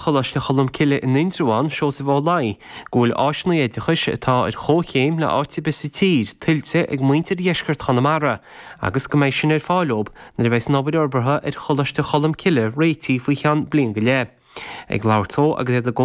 Choláiste Cholmcille in Indreabhán, Seosamh Ó Laoi, go bhfuil áiseanna oideachais atá ar chomhchéim le áit ar bith sa tír tuillte ag muintir dheisceart Chonamara agus go mbeidh sin ar fáil dóibh nuair a bheas an obair fhorbartha ar Choláiste Cholmcille réitithe faoi cheann bliain go leith. Ag labhairt dó agus iad ag.